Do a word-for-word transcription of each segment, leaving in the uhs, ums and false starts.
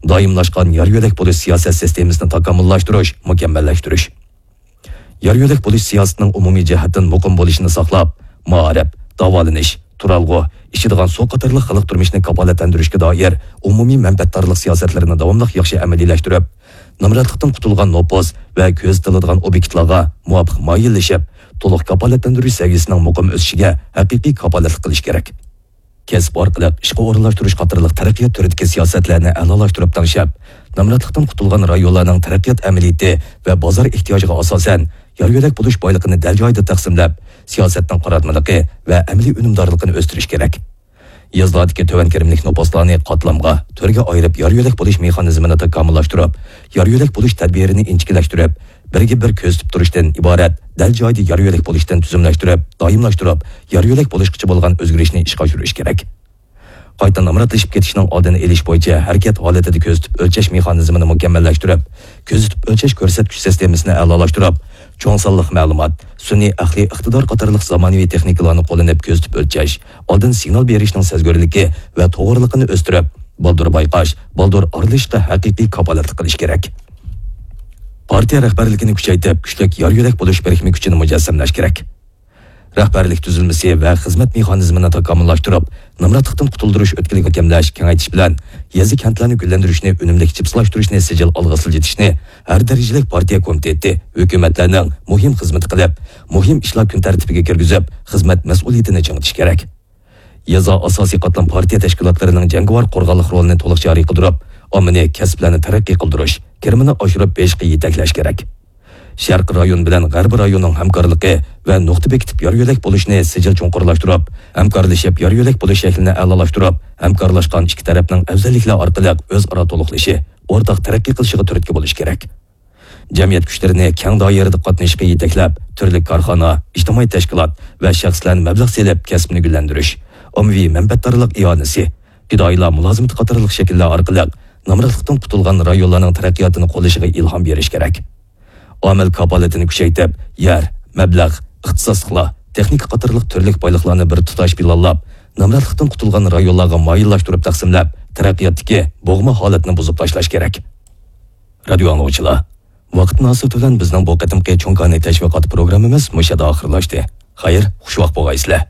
دائىملاشقان يار يۆلەك بولۇش سىياسەت سىستېمىسىنى تاكامۇللاشتۇرۇش، مۇكەممەللەشتۈرۈش. يار يۆلەك بولۇش سىياسىتىنىڭ ئومۇمىي جەھەتتىن مۇقىم بولۇشىنى ساقلاپ، مائارىپ، داۋالىنىش، تۇرالغۇ، ئىچىدىغان سۇ قاتارلىق خەلق تۇرمۇشىنى كاپالەتلەندۈرۈشكە دائىر ئومۇمىي مەنپەئەتدارلىق سىياسەتلىرىنى داۋاملىق ياخشى ئەمەلىيلەشتۈرۈپ، نامراتلىقتىن قۇتۇلغان نوپۇس ۋە كۆزىتىلىدىغان ئوبيېكتلارغا مۇۋاپىق مايىللىشىپ، تولۇق كاپالەتلەندۈرۈش سەۋىيەسىنىڭ مۇقىم ئۆسۈشىگە ھەقىقىي كاپالەتلىك قىلىش كېرەك. كەسىپ ئارقىلىق ئىشقا ئورۇنلاشتۇرۇش قاتارلىق تەرەققىيات تۈرىدىكى سىياسەتلەرنى ئەلالاشتۇرۇپ تەڭشەپ، نامراتلىقتىن قۇتۇلغان رايونلارنىڭ تەرەققىيات ئەمەلىيىتى ۋە بازار ئېھتىياجىغا ئاساسەن، يار يۆلەك بولۇش بايلىقىنى دەل جايىدا تەقسىملەپ، سىياسەتنىڭ قاراتمىلىقى ۋە ئەمەلىي ئۈنۈمدارلىقىنى ئۆستۈرۈش كېرەك. يېزىلاردىكى تۆۋەن كىرىملىك نوپۇسلارنى قاتلامغا، تۈرگە ئايرىپ، يار يۆلەك بولۇش مېخانىزمىنى تاكامۇللاشتۇرۇپ، يار يۆلەك بولۇش تەدبىرىنى ئىنچىكىلەشتۈرۈپ، بىرگە بىر كۆزىتىپ تۇرۇشتىن ئىبارەت دەل جايىدا يار يۆلەك بولۇشتىن تۈزۈملەشتۈرۈپ، دائىملاشتۇرۇپ، يار يۆلەك بولۇشقىچە بولغان ئۆزگىرىشنى ئىشقا ئاشۇرۇش كېرەك. قايتا نامراتلىشىپ كېتىشنىڭ ئالدىنى ئېلىش بويىچە ھەرىكەت ھالىتىدە كۆزىتىپ ئۆلچەش مېخانىزمىنى مۇكەممەللەشتۈرۈپ، كۆزىتىپ ئۆلچەش كۆرسەتكۈچ سىستېمىسىنى ئەلالاشتۇرۇپ، چوڭ سانلىق مەلۇمات، سۈنئىي ئەقلىي ئىقتىدار قاتارلىق زامانىۋى تېخنىكىلارنى قوللىنىپ كۆزىتىپ ئۆلچەش، ئالدىن سىگنال بېرىشنىڭ سەزگۈرلۈكى ۋە توغرىلىقىنى ئۆستۈرۈپ، بالدۇر بايقاش، بالدۇر ئارىلىشىشقا ھەقىقىي كاپالەتلىك قىلىش كېرەك. پارتىيە رەھبەرلىكىنى كۈچەيتىپ، كۈچلۈك يار يۆلەك بولۇش بىرىكمە كۈچىنى مۇجەسسەملەش كېرەك. رەھبەرلىك تۈزۈلمىسى ۋە خىزمەت مېخانىزمىنى تاكامۇللاشتۇرۇپ، نامراتلىقتىن قۇتۇلدۇرۇش ئۆتكىلىگە مۇكەملەش، كېڭەيتىش بىلەن يېزا، كەنتلەرنى گۈللەندۈرۈشنى، ئۈنۈملۈك جىپسىلاشتۇرۇشنى سىجىل ئالغا سىلجىتىشنى ھەر دەرىجىلىك پارتىيە كومىتېتى، ھۆكۈمەتلەرنىڭ مۇھىم خىزمىتى قىلىپ، مۇھىم ئىشلار كۈن تەرتىپىگە كىرگۈزۈپ، خىزمەت مەسئۇلىيىتىنى چىڭىتىش كېرەك. يېزا ئاساسىي قاتلام پارتىيە تەشكىلاتلىرىنىڭ جەڭگىۋار قورغانلىق رولىنى تولۇق جارى قىلدۇرۇپ، ئاممىنى، كەسىپلەرنى تەرەققىي قىلدۇرۇش، كىرىمىنى ئاشۇرۇپ بېرىشقا يېتەكلەش كېرەك. شەرقىي رايون بىلەن غەربىي رايوننىڭ ھەمكارلىقى ۋە نۇقتا بېكىتىپ يار يۆلەك بولۇشنى سىجىل چوڭقۇرلاشتۇرۇپ، ھەمكارلىشىپ يار يۆلەك بولۇش شەكلىنى ئەلالاشتۇرۇپ، ھەمكارلاشقان ئىككى تەرەپنىڭ ئەۋزەللىكلەر ئارقىلىق ئۆزئارا تولۇقلىشى، ئورتاق تەرەققىي قىلىشىغا تۈرتكە بولۇش كېرەك. جەمئىيەت كۈچلىرىنى كەڭ دائىرىدە قاتنىشىشقا يېتەكلەپ، تۈرلۈك كارخانا، ئىجتىمائىي تەشكىلات ۋە شەخسلەرنى مەبلەغ سېلىپ كەسىپنى گۈللەندۈرۈش، ئاممىۋى مەنپەئەتدارلىق ئىئانىسى، پىدائىيلار مۇلازىمىتى قاتارلىق شەكىللەر ئارقىلىق نامراتلىقتىن قۇتۇلغان رايونلارنىڭ تەرەققىياتىنى قوللىشىغا ئىلھام بېرىش كېرەك. ئامىل كاپالىتىنى كۈچەيتىپ، يەر، مەبلەغ، ئىختىساسلىقلار، تېخنىكا قاتارلىق تۈرلۈك بايلىقلارنى بىر تۇتاش پىلانلاپ، نامراتلىقتىن قۇتۇلغان رايونلارغا مايىللاشتۇرۇپ تەقسىملەپ، تەرەققىياتتىكى بوغما ھالەتنى بۇزۇپ تاشلاش كېرەك. رادىيو ئاڭلىغۇچىلار، ۋاقىت مۇناسىۋىتى بىلەن بىزنىڭ بۇ قېتىمقى چوڭ كارنى تەشۋىقات پروگراممىمىز مۇشۇ يەردە ئاخىرلاشتى. خەير، خۇشۋاق بولغايسىلەر.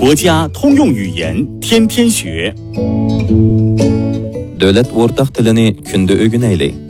国家通用语言，天天学。 دۆلەت ئورتاق تىلىنى كۈندە ئۆگىنەيلى.